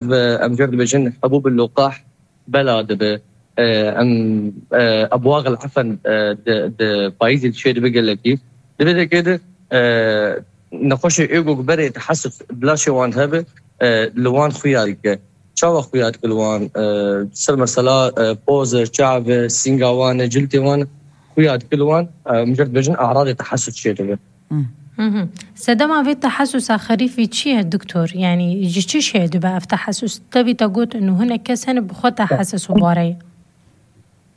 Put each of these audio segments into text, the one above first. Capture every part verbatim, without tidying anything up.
ve em jê re dibêjin hebûb lûqah bela dibe. E, em, e, ebwax el efen, e, di, di payîzê çê dibe gelekî. Di vê dekê de, e, nexweşê ê ku berê tehesus di laşê wan hebe, e, li wan xuya dike. Çawa xuya dike li wan? E, ser mesela, e, poz e, çav e, sînga wan e, ciltê wan xuya dike li wan. E, em jê re dibêjin eradê tehesus çê dibe. Sedema vê tehesusa xerîfî çi ye doktor? Yanî ji çi şê dibe ev tehesus? Tevî te got inu hinek kes hene bi xwe tehesus û bare ye.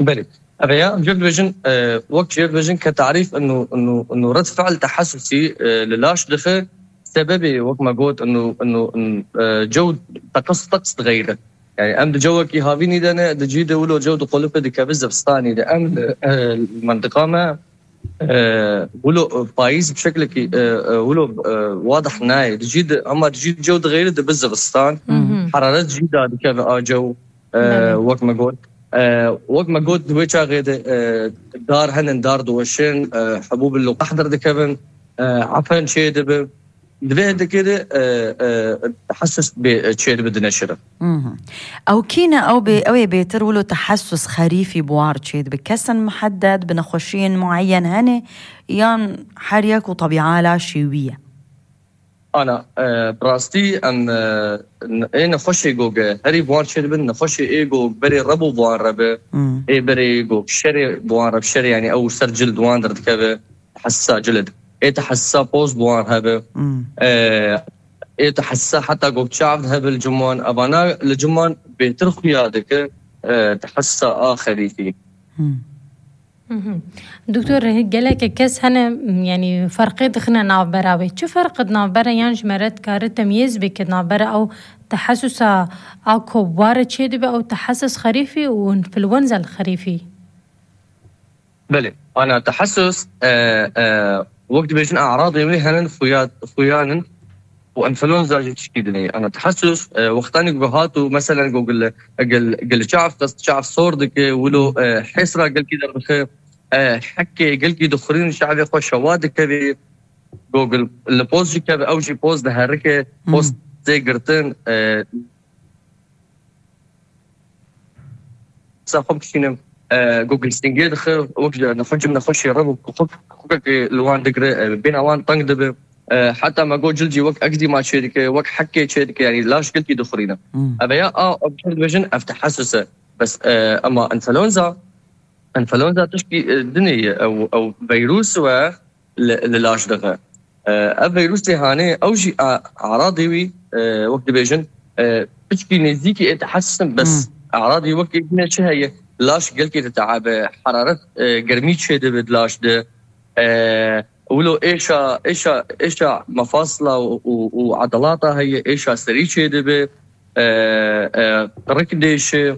Belê. Ev ya, em jê re dibêjin, e, wek jê re dibêjin ke tarîf inu, inu, inu red fiil tehesusî, e, li laş dixe, sebebê wek me got inu, inu, in, e, cew teqis teqis dixeyre. Yani em di cewekî havînî de ne, di cî de wilo cew diqolife dikeve zivistanî de. Em li, e, li mentiqa me, e, wilo, e, payîz bi şeklekî, e, e, wilo, e, wadih nayê. Di cî de, ama di cî de cew dixeyre dibe zivistan. Heraret jî dadikeve a cew, e, wek me got. E, wek me got, di wê çaxê de, e, dar henin, dar diweşin, e, hebûb lûqah derdikevin, e, efen çê dibe. Di vê hindekê de, e, e, tehesus bê, e, çê dibe dineşirin. Ew kî ne? Ew bê, ew ê bêtir wilo tehesus xerîfî bi wan re çê dibe. Kesin muhedded, bi nexweşiyên mueyen hene, yan her yek û tebîa laşê wî ye? Ana, e, bi rastî em, e, n-, ê nexweşê goge herî bi wan çê dibin, nexweşê ê go berê reb û bi wan re be, ê berê go şerê bi wan re, şerê, yani ew ser cil di wan derdikeve, tehessa cilid. Ê tehessa poz bi wan hebe. E, ê tehessa heta go çav hebe li cim wan. Evana li cim wan bêtir xuya dike, e, tehessa a xerîfî. Doktor, geleke kes hene, m, yanî ferqê dixine navbera wê. Çi ferq di navbera yan ji me re dikare temyêz bike navbera ew tehesusa a ku ware çê dibe ew tehesus xerîfî û influenza xerîfî? Belê, ana tehesus, e, e, wek dibêjin e'radê wê henin xuya-, xuyan in û enfluenza jî tişkî dinê. Ana tehesus, e, wextanî ku hat û meselen ku gil, gil, gil çav xist, çav sor dike, wilo, e, hêsra gelkî derdixe, e, hekê gelkî dixurîn çavê xwe şewa dikevê, ku gil li poz jî keve, ew jî poz diherike, poz tê girtin, e, sa xwe bişînim, e, ku gil singê dixe, wek ji nexwe cim nexweşê re bû, ku xwe, xwekekê li wan digire, e, bêna wan teng dibe. E, heta me got cil jî wek egzîma çê dike, wek hekê çê dike, yani laş gelkî dixurîne. Ev ya a, em jê re dibêjin ev tehesus e. Bes, e, ema enfluenza, enfluenza tişkî, e, dinê ye, ew, ew vîrus we li, li laş dixe. E, ev vîrusê hanê, ew jî a, e'radê wî, e, wek dibêjin, e, piçkî nêzîkî ê tehesus in, bes e'radê wek ê dinê çi heye? Laş gelkî diteabe, heraret, e, germî çê dibe di laş de. E, wilo êşa, êşa, êşa mefasla û, û, û edalata heye, êşa serî çê dibe, e, e, qirik dêşe.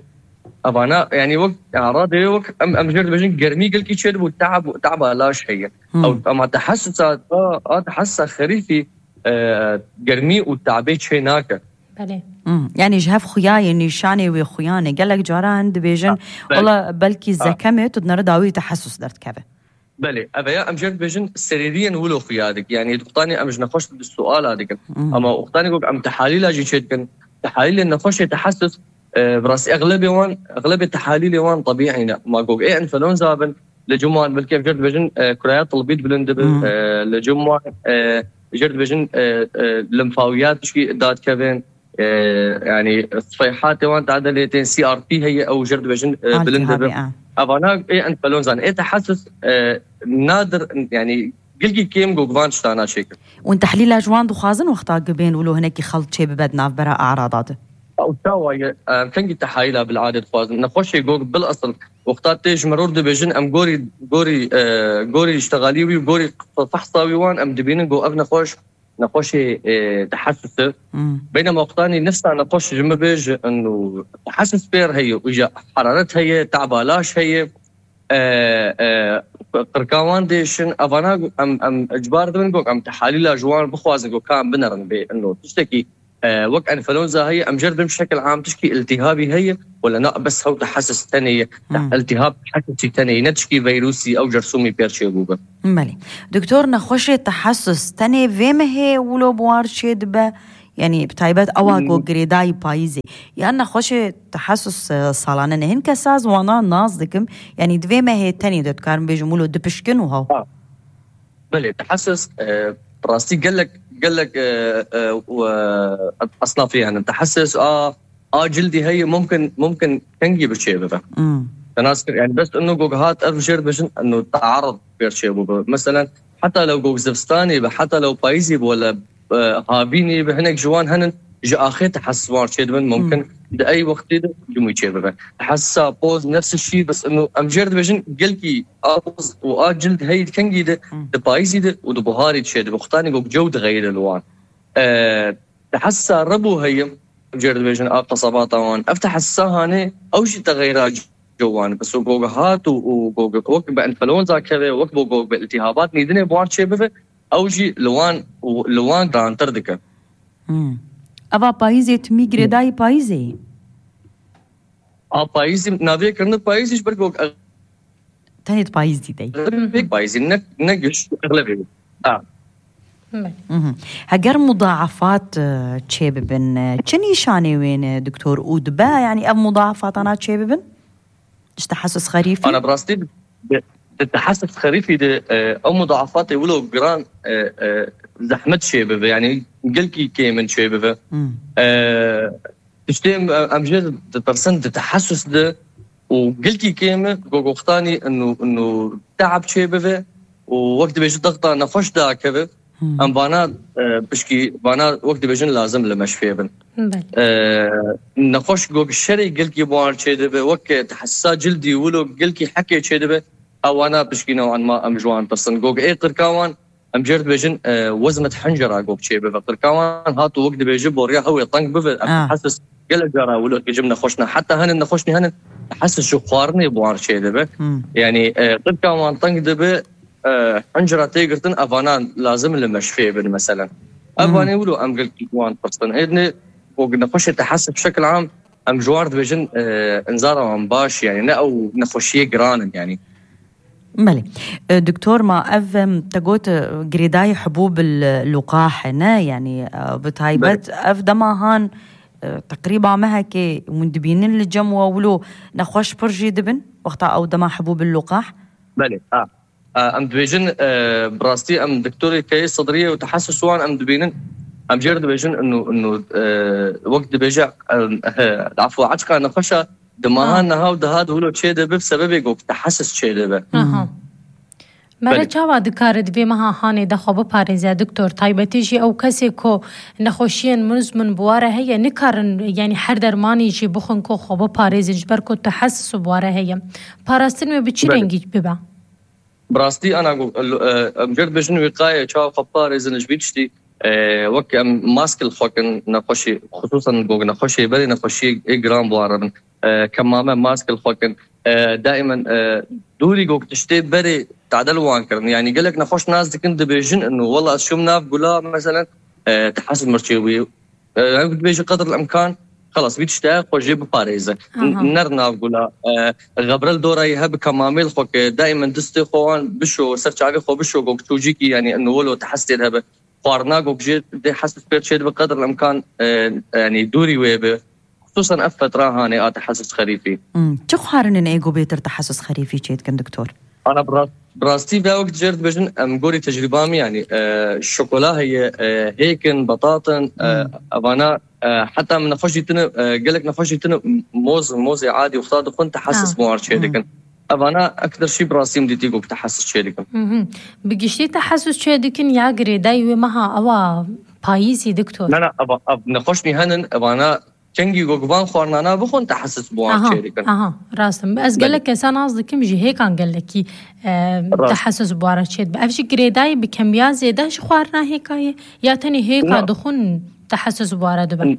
Evana, yani wek, e'radê wek em, em jê re dibêjin germî gelkî çê dibe û teab, teaba laş heye. Ew, ema tehesusa, a, a tehesusa xerîfî, e, germî û teabê çê nake. Belê. Hmm. Yani ji hev xuya ye, nîşanê wê xuyan e. Gelek caran dibêjin, Ha, belê. Wala belkî Ha. zekem e, tu dinere dawî tehesus derdikeve. Belê, ev ya em jê re dibêjin serîriyên wilo xuya dik. Yani wextanê em ji nexweş di suala dikin. Hmm. Ama wextanê ku em tehalîla jî çê dikin. Tehalîlên nexweşê tehesus, e, bi rastî exlebê wan, exlebê tehalîlê wan tebîî ne. Ma ku ê enfluenza bin, li cim wan belkî em jê re dibêjin, e, kuraya tilbî bilind dibe, Hmm. e, li cim wan, e, jê re dibêjin, e, e, limfawiyat tişkî dadikevin. E, yani sifeyhatê wan tade lê tên C R P heye, ew jê re dibêjin, e, bilind Altîhabî, dibe. A. Evana ê enfluenzan, ê tehesus, e, nadir, yani gelkî kêm ku van tiştana çêkin. Hûn tehlîla ji wan dixwazin wexta ku bên wilo hinekî xelt çê bibe di navbera e'rada de? Ew çawa ye? Em kengî tehalîla bil'adê dixwazin? Nexweşê gog bil esil wexta tê ji mirov dibêjin, em gorî, gorî, e, gorî îştixalî wî, gorî fehsa wî wan, em dibînin ku ev nexweş nexweşê, e, tehesus e. Hmm. Beynema wextanî nifsa nexweş ji min bêje û tehesus pêr heye, û îja heraret heye, taba laş heye, e, e, qirka wan dêşin, evana em, em icbar dibin ku em tehalîla ji wan bixwazin ku ka em binerin bê ino tiştekî, e, wek enfluenza heye, em jê re dibin şekil am tişkî iltîhabî heye, wala na bes hew tehesus tenê ye, Hmm. iltîhab tehesusî tenê ye, ne tişkî vîrusî ew cersûmî pêr çêbûbe. Belê. Doktor, nexweşê tehesus tenê vê mehê wilo bi wan re çê dibe Yanî bi taybet ewa ku girêdayî payîzê. Yan nexweşê tehesus, e, salane ne. Hin kesa ez wana nas dikim. Yanî di vê mehê tenê de dikarim bêjim wilo dipişkin û hew. Ha. Belê, tehesus, e, rastî gelek, gelek, e, e, û, e, esnafî hene. Tehesus a, a cildî heye mumkin, mumkin kengî bi çê bibe. Hmm. Te nas kir, yani bes ino gog hat ev jêr dibêjin, ino taarud pêr çê bûbe. Meselen, heta lew gog zivistanî be, heta lew payîzî be, wele, e, havînî be, hinek ji wan henin, ji axê tehesus wan çê dibin, mumkin Hmm. di ey wextî de cimû çê bibe. Tehesusa poz, nefs şî, bes ino em jêr dibêjin, gelkî a poz û a cild heyî di kengî de, Hmm. di payîzî de û di buharî çê dibe. Wextanî gog cew dixeyire li wan. E, tehesusa rebû heye, em jêr dibêjin a qesabata wan. Ev tehesusa hanê, ew jî texeyra cewan. Bes û gog hat û, û gog wek bi enfluenza keve, wek bo gog bi iltihabat nîdinê bi wan çê bibe, ew jî li wan, li wan girantir dike. Hmm. Eva payîzê timî girêdayî payîzê yî? A payîzî, navê kirine payîzî ji ber gog Tenê di payîzî de yî. Pêk payîzî, ne, ne giş, eglebê. Ha. Belê. Mhm. Heger mudaafat, e, çê bibin, e, çi nîşanê wê ne, doktor? Û dibe, yanî ev mudaafatana çê bibin? Ji tehesus xerîfî? Ana, bi rastî, di, di tehesus xerîfî de, e, ew mudaafatê wilo giran, e, e, zehmet çê bibe, yanî gelkî kêm in çê bibe. Hmm. E, tiştê em, em jê ditirsin di tehesus de û gelkî kêm e, gogoxtanî inu, inu teab çê bibe û wek dibêjin dexta nexweş dakeve. Hmm. Em vana, e, pişkî vana wek dibêjin lazim li meşfê bin. Belê. E, nexweş gog şerê gelkî bi wan çê dibe, wek tehesusa cildî wilo gelkî hekê çê dibe, ewana pişkî new'an ma em ji wan tirsin. Gog ê qirka wan, em jê re dibêjin, e, wezmet hencera gog çê bibe. Qirka wan hat û wek dibêje boriya hewê teng bibe. Em Ah. tehesus gelek cara wilo hêjim nexweş ne. Heta henin nexweşnî henin tehesus ji xwarinê bi wan çê dibe. Hmm. Yanî, e, qirka wan teng dibe, e, hencera tê girtin, evana lazim li meşfê bin meselen. Ev Hmm. vanê wilo em gelkî wan pirsin. Êdinê gog nexweşê tehesus bi şekil am em ji wan re dibêjin, e, inzara wan baş, yanî ne ew nexweşiyê giran in, yanî. Belê. E, doktor, ma ev, em, te got, e, girêdayî hubûb il luqah e, ne? Yanî, e, bi taybet Belê. ev dema han, e, teqrîba mehekê hûn dibînin li cem we wilo nexweş pir jî dibin, wexta ew dema hubûb il luqah? Belê, ha. E, em dibêjin, e, bi rastî em doktorê keyê sidriyê û tehesus wan em dibînin, em jê re dibêjin, inu, inu, e, wek dibêje, e, e, afwa, eçqa nexweşa Di meha Ha. niha û diha di wilo çê dibe, bi sebebê ku tehesus çê dibe. Aha. Hmm. Mere Belê. çawa dikare di vê meha hanê de xwe biparêze, doktor? Taybetî jî ew kesê ku nexweşiyên muzmin bi ware heye, nikarin, yanî her dermanî jî bixwin ku xwe biparêzin, ji ber ku tehesus bi ware heye. Parastin wê bi çi Belê. rengî bibe? Bi rastî ana ku, e, em jê re dibêjin wîqaye, çawa xwe biparêzin ji vî tiştî, e, wek em mask li xwe kin, nexweşî, xisûsan gog nexweşê berê nexweşiyê ê giran bi wan re bin. E, kemame mask li xwe kin. E, daimen, e, dûrî gog tiştê berê tade li wan kirin. Yanî gelek nexweş nas dikin dibêjin inu, wela ez çûm nav gula, meselen, e, tehesus mir çêbûyî. E, ew dibêje qedr el-imkan, xelas, vî tiştê xwe jê biparêze. Aha. N-, ner nav gula, e, xebre li dora yê hebe kemamê li xwe ke, daimen distê xwe wan bişo, ser çavê xwe bişo, gog çûcîkî, yanî inu wilo tehesus tê de hebe. Xwarina gog jê dê hesus pêr çê dibe, qedr el-imkan, e, yanî dûrî wê be. Xisûsan ev fetra hanê a tehesus xerîfî. Hmm. Çi xwarinin ê ku bêtir tehesus xerîfî çê dikin, doktor? Ana bi rast-, bi rastî ve wek jê re dibêjin, em gorî tecrîba me, yanî, e, şokola heye, e, hêk in, betat in, e, Hmm. evana, e, heta min nexweş dîtine, e, gelek nexweş dîtine, moz, mozê adî wexta dixwin, tehesus Ha. bi wan çê Hmm. dikin. Evana ektir şî bi rastî min dîtî ku tehesus çê dikin. Mhm. Bi giştî tehesus çê dikin ya girêdayî wê meha ewa payîzî, doktor? Na, na, eva, ev nexweşnî henin, evana kengî ku van xwarinana bixwin tehesus bi wan Aha, çê dikin. aha, rast e. Ez Belê. gelek kesa nas dikim ji hêkan gelekî, e, Rast. tehesus bi wan re çê dibe. Ev jî girêdayî bi kemiya zêde ji xwarina hêka ye? Ya tenê hêka Na. dixwin tehesus bi wan re dibe? N-,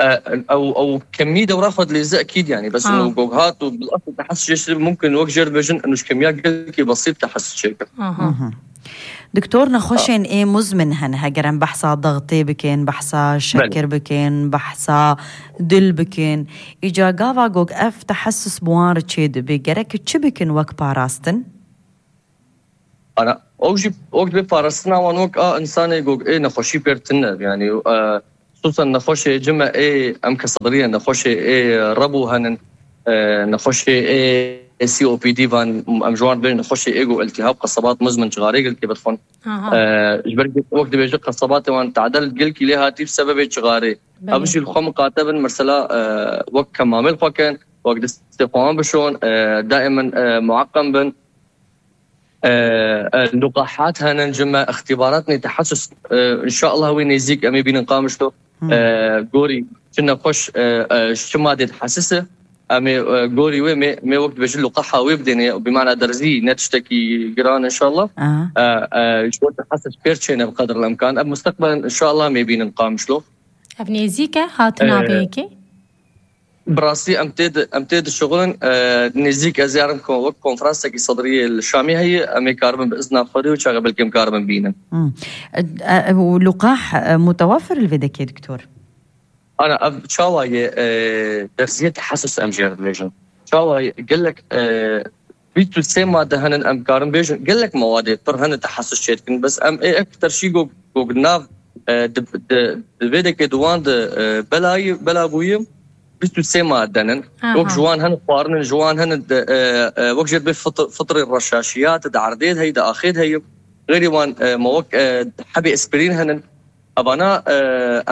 e, ew, ew kemî dewra xwe dilêze ekîd, yanî. Bes Ha. û gog hat û bil asl tehesus jê şirî mumkin wek jê re dibêjin, û ji kemiya gelkî besît tehesus çêkin. Aha. Mhm. Doktor, nexweşên ê muzmin hene, heger em behsa dextê bikin, behsa şekir Belê. bikin, behsa dil bikin. Îca gava gog ev tehesus bi wan re çê dibe, gerek çi bikin wek parastin? Ana, Ew jî wek dibê parastina wan wek a insanê ku ê nexweşî pêr tune, yanî, e, xisûsen nexweşê cime ê, em ke sedrî ye, nexweşê ê rebû henin, e, nexweşê ê C O P D van, em ji wan dibêjin nexweşê ê ku iltihab, qesebat muzmin cixarê gilkê bidixwin. Aha. E, ji ber wek dibêje qesebatê wan tadel gilkî lê hatî bi sebebê cixarê. Belê. Ev jî li xwe miqate bin, mesela, e, wek kemamê li xwe kin, wek destê xwe wan bişon, e, daîmen, e, mueqem bin. E, e, luqahat henin cime, îxtîbaratnê tehesus, e, înşallah wê nêzîk em ê bînin Qamişlo. Hmm. E, gorî çi nexweş, e, e, çi madê tehesus e. Em ê, e, gorî wê mê, mê wek dibêjin luqaha wê bidêne, bi mana derzî, ne tiştekî giran înşallah. Aha. E, e, ji bo tehesus pêr çêne bi qedr el imkan. Ev musteqbelen înşallah em ê bînin Qamişlo. Ev nêzîk e hatina, e, vê yekê? Bi rastî em tê di, em tê dişuxulin, e, nêzîk ez yarim ku wek konferansekî sedriyê li Şamê heye, em ê karibin bi izna Xwedê û çaxê belkî em karibin bînin. Hmm. E, e, û luqah, e, mutewefir li vê dekê, doktor? Ana, ev çawa ye, e, derziyê tehesus em jê re dibêjin. Çawa ye, gelek, e, bîst û sê made henin, em karin bêjin, gelek mewadê pir hene tehesus çêdikin. Bes em ê ekter şî go, go nav, e, di, di, di vê dekê di wan de, e, belayî, bela bûye bîst û sê made nin. Aha. Wek ji wan hene xwarinin, ji wan hene de, e, e, wek jê dibê fitr-, fitrê reşaşiyat, di erdê de heye, di axê de heye. Xeyrî wan, e, me wek, e, hebê aspirîn henin. Evana, e,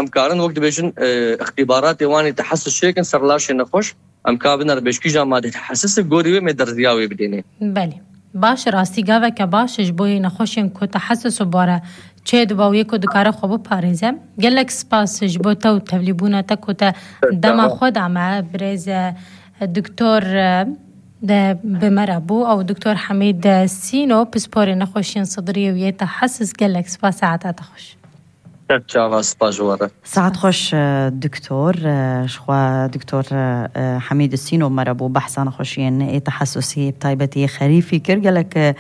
em karin wek dibêjin, e, îxtîbaratê wan ê tehesus çêkin ser laşê nexweş, em ka biner bêşkîja madê tehesus, gorî wê mê derziya wê bidêne. Belê. Baş, rastî gaveke baş ji bo yê nexweşên ku tehesus û bare çê dibe û yê ku dikare xwe biparêze. Gelek spas ji bo te û tevlîbûna te ku te dema xwe da me, birêz, e, doktor, e, de bi me re bû. Ew doktor Hemîd, e, Sîno, pisporê nexweşiyên sidriyê û yê tehesus, gelek spas, saeta te xweş. Ser çava, spas ji we re. Saet xweş, e, doktor. E, ji xwe doktor, e, Hemîd Sîno me re bû, behsa nexweşiyên ê tehesusî, bi taybetî xerîfî kir. Gelek, e,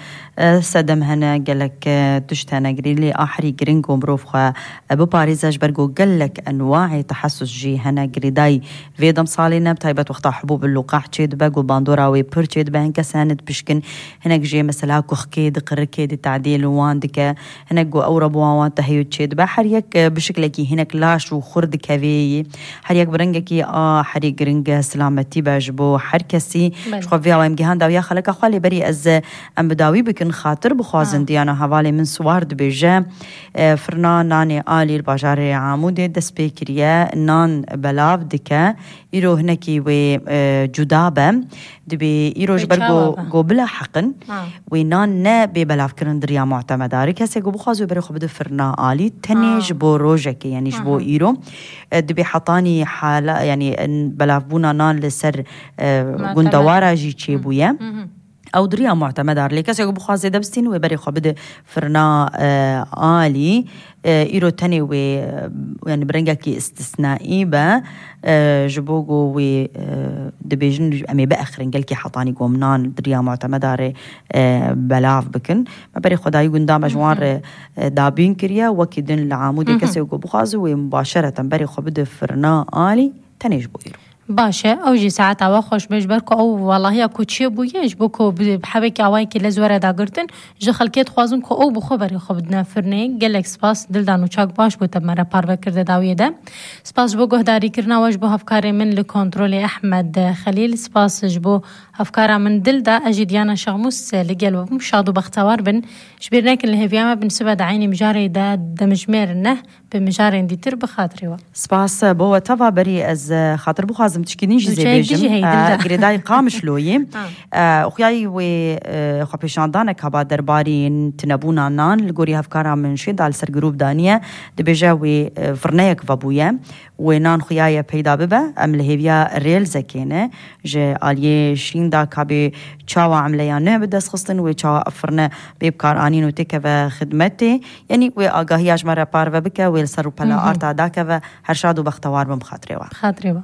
sedem hene, gelek, e, tişt hene girî, lê a herî giring ku mirov xwe, e, biparêze, ji ber ku gelek enwayê tehesus jî hene girêdayî vê demsalê ne, bi taybet wexta hubûb luqah çê dibe, ku bandora wê pir çê dibe, hin kes hene dipişkin, hinek jê mesela kuxkê di qirikê di tadiyê li wan dike. Hinek ku ew re bi wan wan teheyû çê dibe. Her yek, e, bi şiklekî hinek laş û xurt dikevê yî. Her yek bi rengekî a herî giring e, silametî be ji bo her kesî. Belê. Ji xwe vê awa em gihan dawiya xeleka xwe, lê berî ez, e, em bi dawî bikin, xatir bixwazin. Ha. Diyana hevalê min Siwar dibêje, e, firna nanê alî li bajarê Amûdê dest pê kiriye, nan belav dike. Îro hinekî wê, e, cuda be. Dibê îro ji ber go, go bila heqin, ha, wê nan ne bê belavkirin di riya mutemedarê. Kesê ku bixwaze wê berê xwe bide firna alî, tenê, ha, ji bo rojekê, yanî ji bo, aha, îro, e, dibê hetanî hala, yanî, e, belavbûna nan li ser, e, mutemed, gundewara jî çêbûye. Hı hı. Ew di riya mutemedar lê kesê ku bixwaze debistîn wê berê xwe bide firna, e, alî. E, îro tenê wê, e, yanî bi rengekî istisnaî be, e, ji bo ku wê, e, dibêjin em ê biexrin gelkî hetanî gomnan di riya mutemedarê, e, belav bikin. Me berê xwe dayî gunda me ji wan, hı hı, re, e, dabîn kiriye. Wekî din li Amûdê, hı hı, kesê ku bixwaze wê mubaşereten berê xwe bide firna alî, tenê ji bo îro. Baş e, ew jî saeta we xweş be, ji ber ku ew welahiya ku çêbûye, ji bo ku bi, bi hebekî awayekî lez were dagirtin, ji xelkê dixwazin ku ew bi xwe berê xwe bidine firnê. Gelek spas, dildan û çak baş bû te bi me re parve kir di dawiyê de. Spas ji bo guhdarîkirina we, ji bo hevkarê min li kontrolê Ehmed Xelîl. Spas ji bo hevkara min Dilda, ez jî Diyana Şaxmûs li gel we bûm. Şad û bextewar bin. Ji bîr nekin, li hêviya me bin sibe di eynî mijarê de, demjimêr neh, bi mijarên dîtir bi xatirê we. Spas bo we teva. Berî ez, e, xatir bixwazim tişkî din jî zê bêjim. Nûçeyek din jî heye, e, Dilda. Girêdayî Qamişloyê. Ha. E, xuyayî wê, e, xwepêşandanek heba derbarî tunebûna nan li gorî hevkara min Şêda li ser grûp daniye. Dibêje wê, e, firneyek vebûye. Wê nan xuyaye peyda bibe. Em li hêviya rêlzekê ne. Ji aliyê Şînda ka bê çawa emleya ne bi dest xistin, wê çawa ev firne bê bikaranîn û têkeve xidmetê. Yanî wê agahiya ji me re parve bike, wê li ser rûpela, mhm, arta dakeve. Her şad û bextewar bin bi xatirê we. Bi xatirê we.